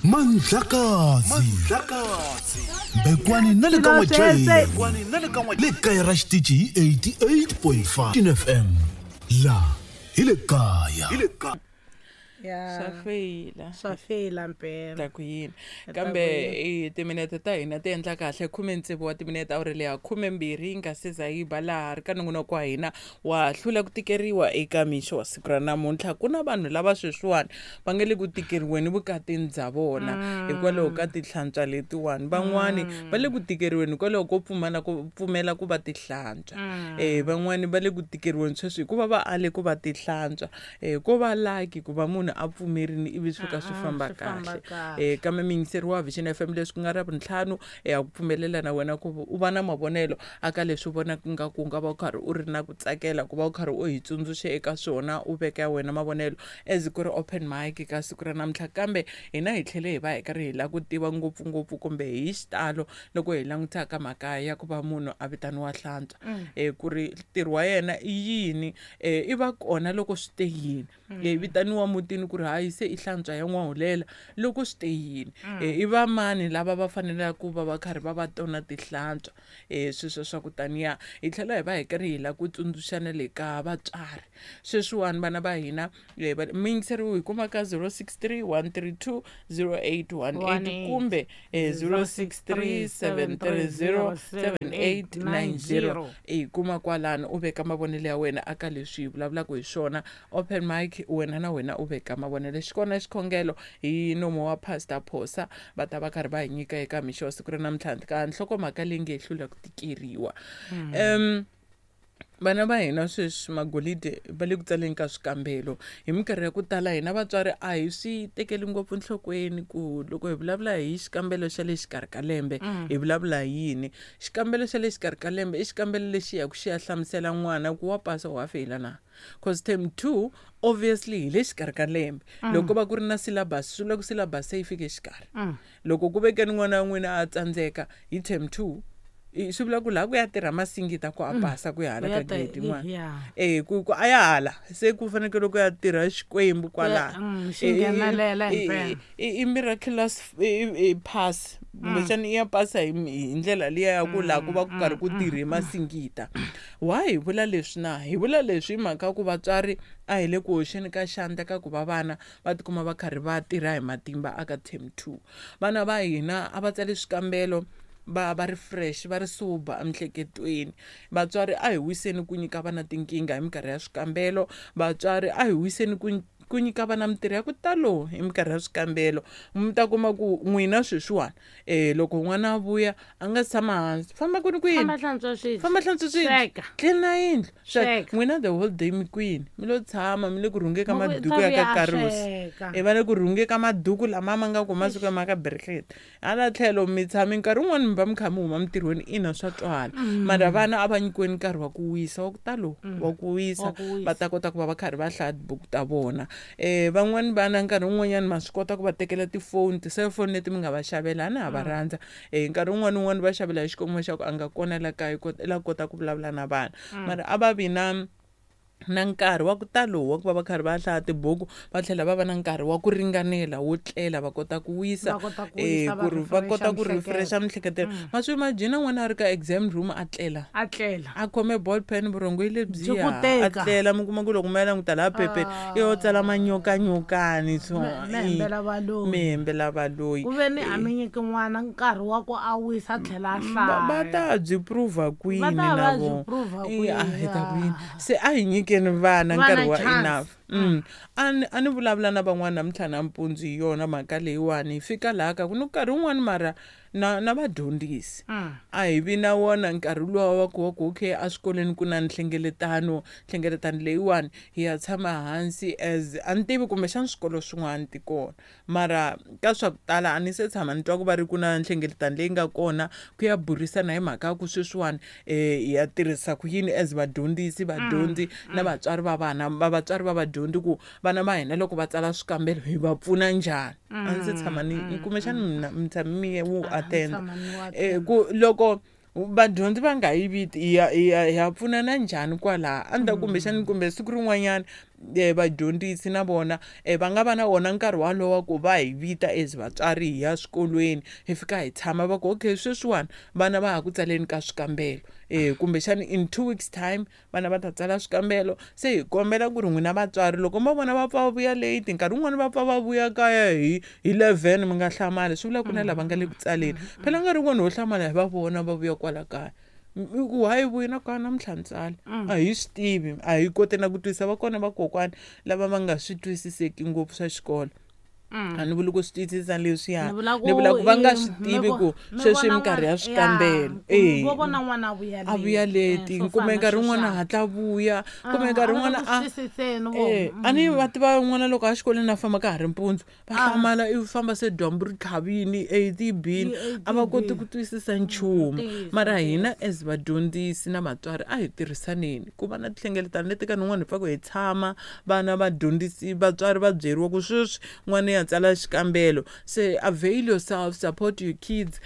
Mandlakazi Bekwani na le ka n'wajeni le kaya ra xitichi hi 88.5 FM la hi le kaya. Ya. Swa feyila. Swa feyila mpela. Ta ku yini. Ta Kambe ku yini. timinete ta hina ti endla kahle 16 wa timinete awuri leya 12 yi nga se za yi ba laha ri ka nongonoko wa hina wa hlula ku tikeriwa eka mixo wa siku ra namuntlha. Ku na vanhu lava sweswiwani va nga le ku tikeriweni vukatini bya vona hikwalaho ka tinhlantswa letiwani. Van'wani va le ku tikeriweni hikwalaho ko pfumala ku pfumela ku va tihlantswa. Van'wani va le ku tikeriweni sweswi hikuva va ale ku va tihlantswa. Ko va lucky ku va munhu a pfumerini ivi swi fika swi famba Swi famba kahle. Kahle. Kambe miyingiseri wa Vision FM leswi ku nga ra vuntlhanu, ha ku pfumelela na wena ku u va na mavonelo aka leswi u vonaka nga ku nga va u karhi u ri na ku tsakela ku va u karhi u hi tsundzuxe eka swona, u veka ya wena mavonelo as ku ri open mic ka siku ra namuntlha. Kambe hina hi tlhele hi va hi karhi hi lava ku tiva ngopfungopfu kumbe hi xitalo loko hi langutaka ka mhaka ya ku va munhu a vitaniwa hlantswa, ku ri ntirho wa yena i yini, i va kona loko swi te yini, vitaniwa mutini ku ri hayi se i hlantswa ya n'wahulela loko swi te yini, i va mani lava va fanelaka ku va va karhi va va tona tihlantswa, sweswo swa ku taniya. Hi tlhela hi va hi karhi hi lava ku tsundzuxana le ka vatswari sweswiwani vana va hina, miyingiseri hi kuma ka 063 132 0818 kumbe 063 730 7890. Hi kuma kwalano u veka mavonelo ya wena aka leswi hi vulavulaka hi swona. Open mic, wena na wena u veka mavonelo. Xi kona xikhongelo hi nomo wa Pastor Phosa, va ta va karhi va hi nyika eka mixo wa siku ra namuntlha ka nhlokomhaka leyi nge hlula ku tikeriwa. Vana va hina sweswi magolide va le ku tsaleni ka swikambelo. Hi minkarhi ya ku tala hina vatswari a hi swi tekeli ngopfu nhlokweni ku loko hi vulavula hi xikambelo xa le xikarhi ka lembe, hi vulavula hi yini. Xikambelo xa le xikarhi ka lembe i xikambelo lexi ya ku xi ya hlamusela n'wana ku wa pasa wa feyila na. Cause term 2 obviously hi le xikarhi ka lembe. Loko va ku ri na syllabus, swi vula ku syllabus se yi fike xikarhi. Loko ku vekeni n'wana wa n'wina a tsandzeka hi term 2, swi vula ku laha ku ya tirha masingita ku a pasa ku ya hala Ku ya ka grade yin'wana. Ku a ya hala se ku fanekele ku ya tirha Xikwembu kwalaho. Xi nghenelela himpela. I miraculous pass. Kumbexana i ya pasa hi ndlela liya ya ku laha ku va ku karhi ku tirhe masingita. Why hi vula leswi na? Hi vula leswi hi mhaka ku vatswari a hi le ku hoxeni ka xandla ka ku va vana va tikuma va karhi va tirha hi matimba aka term 2. Vana va hina a va tsali swikambelo va ri fresh, va ri sober emiehleketweni. Vatswari a hi wiseni ku nyika vana tinkingha hi minkarhi ya swikambelo. Vatswari a hi wiseni ku nyika vana mintirho ya ku talo hi minkarhi ya swikambelo. Mi ta kuma ku n'wina sweswiwani, loko n'wana a vuya a nga tshama hansi, famba kwini kwini? Famba hlantswa swibye. Famba hlantswa swibye. Sweka. Tlina yindlu. Sweka. Sweka. N'wina the whole day mi kwini? Mi lo tshama, mi le ku rhungeni ka Mo ku maduku ta ya ka vuya a Karusi. sweka. Va le ku rhungeni ka maduku lama ma nga ku masiku ma ka Berghet. Hala tlhelo mi tshami nkarhi wun'wani mi va mi kha mi huma mintirhweni, ina swa twala. Mara vana a va nyikiweni nkarhi wa ku wisa, wa ku talo, wa ku wisa, Wa ku wisa. va ta kota ku va va karhi va hlaya tibuku ta vona. Van'wani vana nkarhi wun'wanyani ma swi kota ku va tekela tifoni, ti-cellphone leti mi nga va xavela, a na ha va rhandza. Nkarhi wun'wani wun'wani va xavela hi xikongomelo xa ku a nga kona la kaya, la kota ku vulavula na vana. Mara a va vi na nkarhi wa ku talo wa ku va va karhi va hlaya tibuku, va tlhela va va na nkarhi wa ku ringanela wo tlela, va kota ku wisa, Va kota ku wisa, va ku ri va kota ku refresha refresha miehleketo. Ma swi imagine n'wana a ri ka exam room a tlela. A tlela. A khome ball pen, vurhongo yi le Byi byiya, ku a teka. tlela, mi kuma ku loko mi ya languta laha phepheni, i yo tsala manyokanyokani so, Me hembela valoyi. Mi hembela valoyi. Ku ve ni a mi nyiki n'wana nkarhi wa ku a wisa a tlhela a Va hlaya. ta byi prove kwini Va ta na va byi vona? prove A hi ta kwini? ku yini? Se a hi nyikeni vana Vana nkarhi wa chance. enough. A ni vulavula na van'wana namuntlha nampundzu hi yona mhaka leyiwani. Hi fika laha ka ku ni nkarhi wun'wani mara na vadyondzisi. A hi vi na wona nkarhi luwa wa ku wa ku okay eswikolweni ku na nhlengeletano, nhlengeletano leyiwani hi ya tshama hansi as a ni tivi kumbexana swikolo swin'wana ti kona. Mara ka swa ku tala a ni se tshama ni twa ku va ri ku na nhlengeletano leyi nga kona ku ya burisana hi mhaka ya ku sweswiwani, hi ya tirhisa ku yini as vadyondzisi, vadyondzi na vatswari va vana, va vatswari va vadyondzi ku vana va hina loko va tsala swikambelo hi va pfuna njhani. A ndzi se tshama ni, kumbexana mina mi tshame mi ye wu A ni attend. tshama ni wu attend. Ku loko vadyondzi va nga yi viti, hi ya pfunana njhani kwalaha? A ni ta kumbexani kumbe siku rin'wanyana Vadyondzisi na vona va nga va na wona nkarhi walowo ku va hi vita as vatswari hi ya swikolweni, hi fika hi tshama, va ku okay, sweswiwani vana va ha ku tsaleni ka swikambelo, kumbexani in 2 weeks time vana va ta tsala swikambelo. Se hi kombela ku ri n'wina vatswari, loko mo vona va pfa va vuya late, nkarhi wun'wani va pfa va vuya kaya hi 11, mi nga hlamali. Swi vula ku na lava nga le ku tsaleni. Phela nkarhi wun'wani ho hlamala hi va vona va vuya kwala kaya, i ku hayi, vuyi na kaya namuntlha ni tsala. A hi swi tivi, a hi koti na ku twisisa. Va kona vakokwani lava va nga swi twisiseki ngopfu swa xikolo. A ni vuli ku swi twisisa leswiya, Ni vula ku ni vula ku va nga swi mi tivi ku mi sweswi vona minkarhi ya n'wana- swikambelo. Ya, vo vona n'wana a vuya A vuya late. leti, Swo kumbe fana nkarhi wun'wana sweswiya. hatla vuya, kumbe Ah, nkarhi a va wun'wana ku a twisiseni vo. A ni va tiva n'wana loko a xikolweni a famba ka ha ri mpundzu, va hlamala i famba se dyambu ri tlhavini, eight yi bini, a va koti ku twisisa nchumu. Ntiyiso, Mara hina as vadyondzisi na vatswari a hi tirhisaneni ku va na tinhlengeletano leti ka nin'wana hi pfaku hi tshama, vana vadyondzisi, vatswari va byeriwa ku sweswi n'wana ya tsala xikambelo, se avail yourself, support your kids.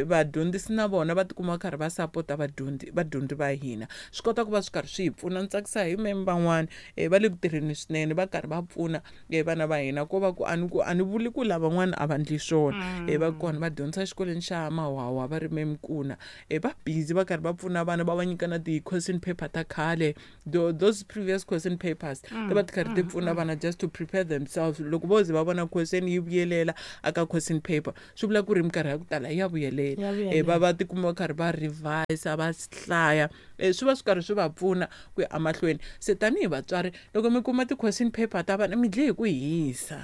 Vadyondzisi na vona va tikuma va karhi va sapota vadyondzi va hina, swi kota ku va swi karhi swi hi pfuna. Ni tsakisa hi meme van'wani, va le ku tirheni swinene, va karhi va pfuna vana va hina. Ko va ku a ni ku a ni vuli ku lavan'wana a va ndli swona. Va kona va dyondzisa exikolweni xa Mawawa, va ri memkuna, va busy va karhi va pfuna vana, va va nyika na ti-question paper ta khale, those previous question papers ti va ti karhi ti pfuna vana just to prepare themselves. Loko vo ze va vona question yi vuyelela aka question paper, swi vula ku ri minkarhi ya ku tala ya vuyelela. Ya Va va tikuma va karhi va revise, va hlaya, swi va swi karhi swi va pfuna ku ya emahlweni. Se tanihi vatswari, loko mi kuma ti-question paper ta vana, mi dle hi ku hisa.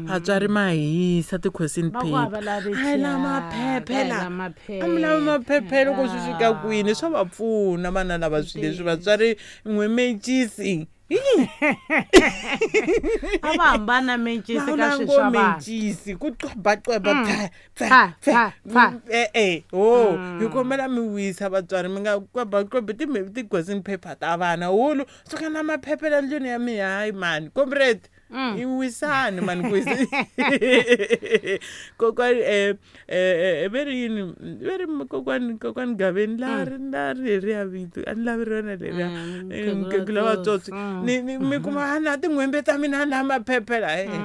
Vatswari ma hisa ti-question Va ku a va paper. lavi A hi la thyaka, maphephe a hi la la maphephe. A mi lavi maphephe. Loko swi fika kwini, swa va pfuna vana lava swilo leswi. Vatswari n'we mencisi. A va hambana mencisi ka swilo ngo swa vanhu. Mencisi ku qwebaqweba, pfa. Pfa, pfa, pfa. E-e, ho hi kombela mi wisa vatswari, mi nga qwebaqwebi ti-question paper ta vana. Hulu suka na maphephe la ndlwini ya mina. Hayi mani, comrade, i wisani mani ku wisa kokwani. Ve ri yini? Ve ri kokwani Gaveni la ri la ri leriya vito a ni lavi rona leriya. Mukhegula Mukhegula wa tsotsi. Ni mi kuma a na tin'hwembe ta mina na maphephe la, e-e.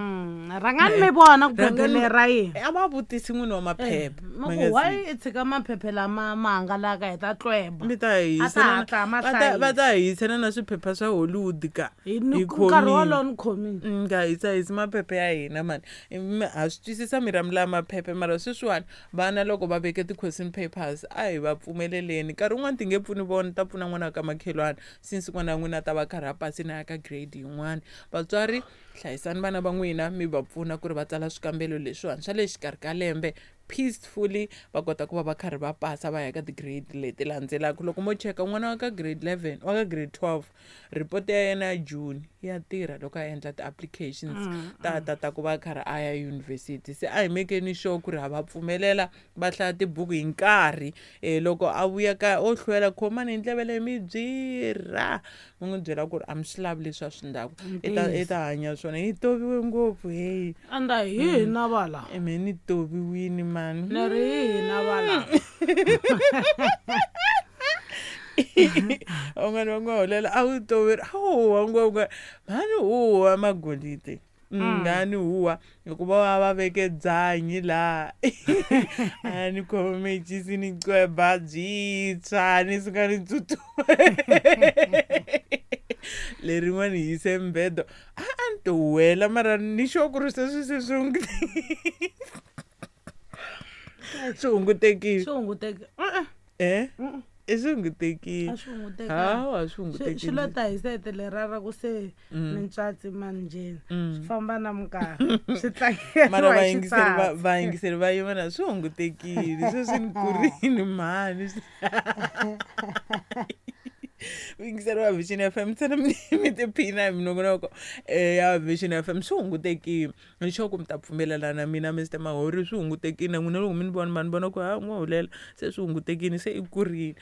Rhangani mi vona ku phephe Rhangani- leri ra yini. A va vutisi n'wini wa maphephe. Ma ku why i tshika maphephe lama ma hangalaka, hi ta tlweba. Mi ta A ta hisela hatla ma va ta hlayisa. hisela na swiphepha swa Hollywood ka. Hi ni Hi nkarhi khomile. wolowo ni khomile. Nga hisahisi maphephe ya hina mani. Ha swi twisisa mi ra maphephe, mara sweswiwani vana loko va veke ti-question papers, a hi va pfumeleleni. Nkarhi wun'wani ti nge pfuni vona, ta pfuna n'wana wa ka makhelwani, since n'wana wa n'wina a ta va karhi a pasini a ya ka grade yin'wana. Vatswari, hlayisani vana va n'wina, mi va pfuna ku ri va tsala swikambelo leswiwani swa le xikarhi ka lembe peacefully, va kota ku va va karhi va pasa, va ya ka ti-grade leti landzelaka. Loko mo cheka n'wana wa ka grade 11, wa ka grade 12, report ya yena ya June ya tirha loko a endla ti-applications ta ku va karhi a ya yunivhesiti. Se a hi mekeni sure ku ri ha va pfumelela va hlaya tibuku hi nkarhi. Loko a vuya kaya o hlwela, khomani hi ndleve leyi, mi byira, mi n'wi byela ku ri a mi swi lavi leswi a swi ndlaku, i ta hanya swona. Hi toviwe ngopfu, heyi. Anda hi hina vala. Me ni toviwini mani. Ni ri hi hina vala. Van'wana va nga holela a wu toveri a huwa ngopfu mhani, huwa magolide ngani huwa hikuva va veke byanyi laha, a ni khome mecisi, ni qweba byintshwa, ni suka ni tsutsuma. Lerin'wani hi yise mbedo, a ni to wela, mara ni sure ku ri sweswi se swi hungutekile. Swi hunguteke. E swi hungutekile. A swi hungutekanga. Hawa, swi Swi hungutekile. lo ta hi sete leriya ra ku se mintswatsi manjheni swi famba na minkarhi, swi tlangeriwa Mara hi vayingiseri va xitswatsi. Vayingiseri va yima na swi hungutekile sweswi, ni kurini mhani. Vuyingiseri wa Vision FM, ntsena mi tiphina hi minongonoko ya Vision FM. Swi hungutekile, ni sure ku mi ta pfumelelana na mina, Mr Mahori. Swi hungutekile na n'wina loko mi ni vona, ma ni vona ku ha n'wa hulela, se swi hungutekile, se i kurile.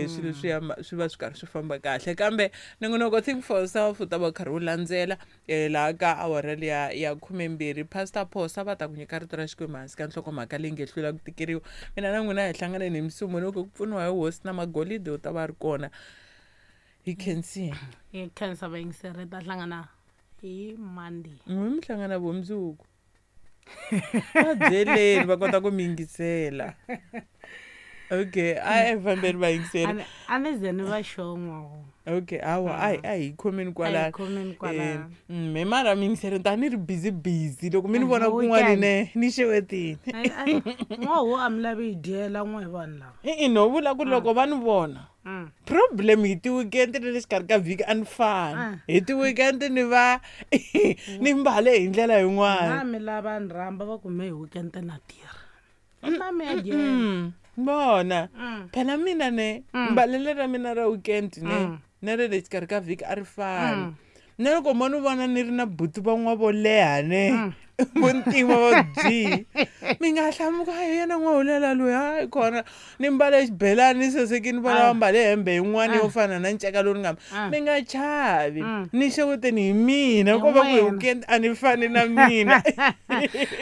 Swilo swi ya swi va swi karhi swi famba kahle, kambe nongonoko Think for Yourself u ta va karhi wu landzela laha ka awara liya ya 12. Pastor Phosa va ta ku nyika rito ra Xikwembu hansi ka nhlokomhaka leyi nge hlula ku tikeriwa. Mina na n'wina hi hlanganeni hi musumbunuko ku pfuniwa hi hosi na magolide u ta va ri kona. Hi khensini. Hi khensa vayingiseri, ta hlangana hi Monday. N'wi mi hlangana vumundzuku. Va byeleni va kota ku mi yingisela. Okay, a hi fambeni vayingiseri. A ni ze ni va xon'wa. Okay, hawa a hi khomeni kwalano. A hi khomeni kwalano. Me mara mi yingiseri ta ni ri busy busy loko mi ni vona kun'wana ne ni xewetini. N'wahu a mi lavi hi dyela n'we hi vanhu lava. I no vula ku loko va ni vona. Problem hi ti-weekend na le xikarhi ka vhiki a ni fani. Hi ti-weekend ni va ni mbale hi ndlela yin'wana. Na mi lava ni rhamba va ku me hi weekend na tirha. Na mi ya dyela. Vona. Phela mina ne mbalele ra mina ra weekend ne na ra le xikarhi ka vhiki a ri fani. Na loko mo ni vona ni ri na buti van'wa vo leha ne vo ntima va byi mi nga hlamuka hi yena n'wahulela loyi hayi kona ni mbale xibelani ni sasekini vona va mbale hembe yin'wana yo fana na nceka lowu ni nga mi nga chavi ni xeweteni hi mina ko va ku hi weekend a ni fani na mina.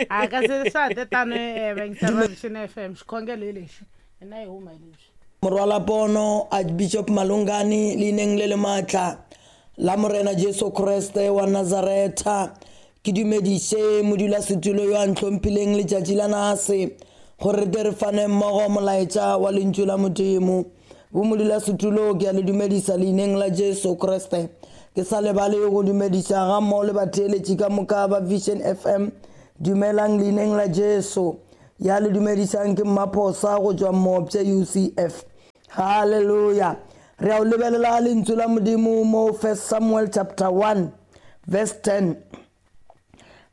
A kasi swa ha te tano vayingiseri va Vision FM xikhongelo hi lexi hina hi huma hi lexi. Morwalapono Archbishop Malungani leineng le le maatla la Morena Jesu Kriste wa Nazaretha, ke dumediše modulasetulo yo a ntlhomphileng letšatši la nase gore re tle re fane mmogo molaetša wa lentšu la Modimo. Bo modulasetulo, ke a le dumedisa leineng la Jesu Kriste. Ke sa lebale go dumediša ga mmogo le batheeletši ka moka ba Vision FM. Dumelang leineng la Jesu. Ya le dumedišang ke Mmaphosa go tšwa Mmopše UCF. Hallelujah. Re a o lebelela lentšu la Modimo mo 1 Samuel chapter 1 verse 10.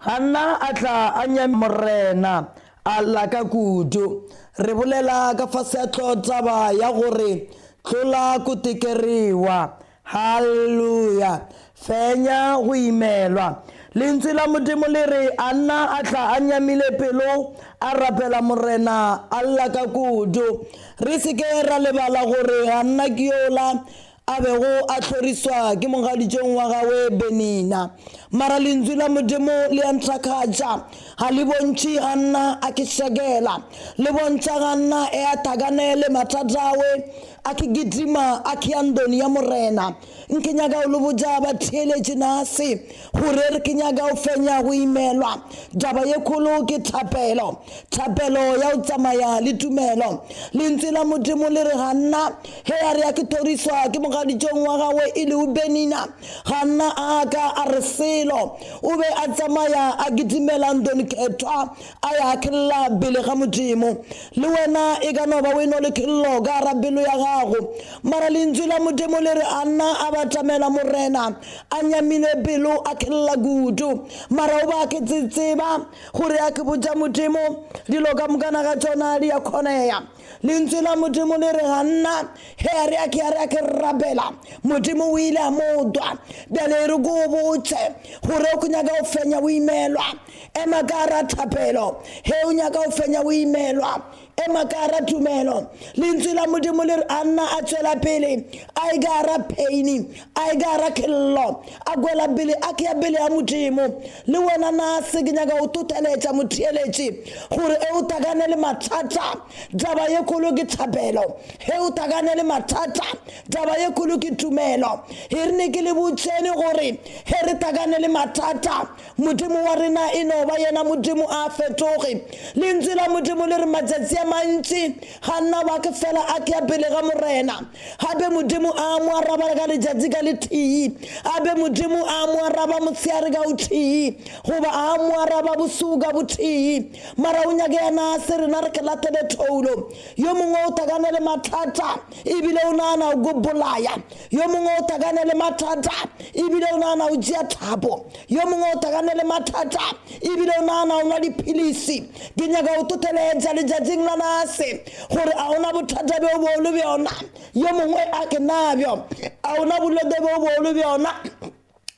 Hanna a tla a nyamile Morena, a lla ka kudu. Re bolela ka fase ya hlogotaba ya gore tlola ko tekeriwa. Hallelujah. Fenya go imelwa. Lentswe la Modimo le re Anna a tla a nyamile pelo, a rapela Morena, a lla ka kudu. Re se ke ra lebala gore Hanna ke yola a bego a hloriswa ke mogaditšong wa gagwe Benina. Mara Lentswe la Modimo le a ntlhakgatša, ga le bontšhe Hanna a ke šekela. Le bontšha Hanna e a thakane le mathata awe, a ke kitima a ke ya ndoni ya Morena. Nke nyaka o le botša batheeletši nase gore re ke nyaka o fenya go imelwa. Taba ye kgolo ke thapelo, thapelo ya go tsamaya le tumelo. Lentswe la Modimo le re Hanna ge a re a ke thoriswa ke mogaditšong wa gagwe e lego Benina, Hanna a ka a re selo. O be a tsamaya a kitimela ndoni khethwa, a ya kgella pele ga Modimo. Le wena e ka no ba o eno le kgello ka gara pelo ya gago, mara lentswe la Modimo le re Anna a batamela Morena a nyamile pelo, a kgella kudu. Mara o ba ke tseba gore a ke botša Modimo dilo ka mokana ga tšona di a kgoneya. Lentswe la Modimo le re Hanna he a re a ke a re a ke rapela, Modimo o ile a mo twa. Bjale re ko botše gore o nyaka go fenya o imelwa, ema ka ra thapelo. He o nyaka go fenya o imelwa, ema ka ra tumelo. Lentswe la Modimo le re Anna a tswela pele a e ka ra pain, a e ka ra kgello, a kwela pele a ke ya pele ya Modimo. Le wena na se ke nyaka go toteletša motheeletši gore e o takane le mathata, taba ye kgolo ke thapelo. He o takane le mathata, taba ye kgolo ke tumelo. He re ne ke le botšene gore he re takane le mathata, Modimo wa rena e no ba yena Modimo a fetoge. Lentswe la Modimo le re matšatši a mantši Hanna ba ke fela a ke ya pele ga Morena. Gape Modimo a mo araba ka letšatši ka letee, gape Modimo a mo araba motshehare ka o tee, goba a mo araba bosuku ka botee. Mara o nyake yena se rena re ke latele thoulo. Yo mongwe o takane le mathata ebile o nagana o ko bolaya, yo mongwe o takane le mathata ebile o nagana o tšea thapo, yo mongwe o takane le mathata ebile o nagana o nwa diphilisi. Ke nyaka o toteletša letšatšing la nase gore a ona bothata bjo bo le bjona, yo mongwe a ke nabjo, a ona bolwetse bjo bo le bjona.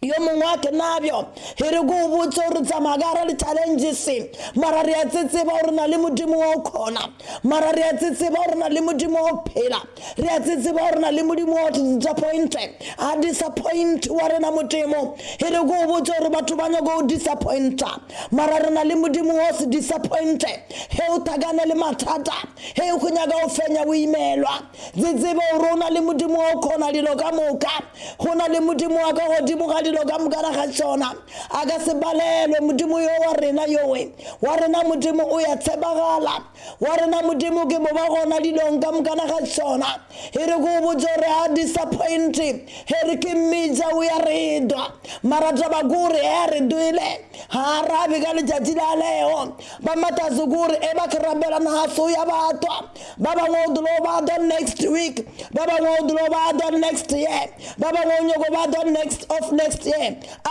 Yo mongwe wa ke nabjo e re ko o botse gore tsamaya ka gara di-challenges mara re a tsetseba gore na le modimo wa o kgona mara re a tsetseba gore na le modimo wa o phela re a tsetseba gore na le modimo wa o disappointe a disappoint wa rena modimo e re ko o botse gore batho ba nyako o disappointa mara re na le modimo wa o se disappointe he o thakane le mathata he o go nyaka o fenya o imelwa tsetsebe gore o na le modimo wa o kgona dilo ka moka go na le modimo wa ka godimo ga dilo ka mokana ga tsona a ka se balelwe modimo yo wa rena yowe wa rena modimo o ya tshepagala wa rena modimo ke mo ba gona dilong ka mokana ga tsona e re ko botse gore a disappointe he re ke mmitsa o ya redwa mara taba kore e re duile ga arabe ka letšatši la leo ba matase kore e ba kerabela naso ya batwa ba bangwe o dilo ba dwa next week ba bangwe o dilo ba dwa next year ba bangwe o nyako ba dwa next of next year a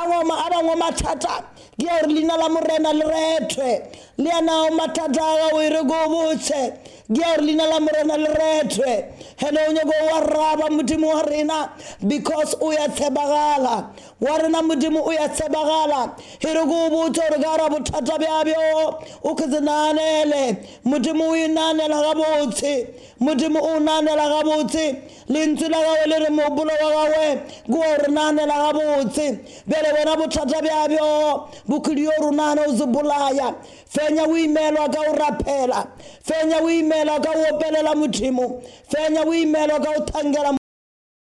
bangwe mathata ke ya gore leina la morena le rethwe le yanao mathata a gago e re ko botse ke ya gore leina la morena le rethwe ene o nyako wa raba modimo wa rena because o ya tshepagala wa rena modimo o ya tshepagala e re ko botse gore ka ra bothata bjabjo o ke se naanele modimo o e naanela gabotse modimo o naanela gabotse lentswe la gagwe le re mogopolo wa gagwe ke wa re naanela gabotse bjale wena bothata bjabjo bokhodi yo ronana o se bolaya fenya o imelwa ka o rapela fenya o imelwa ka o opelela modimo fenya o imelwa ka o thangela.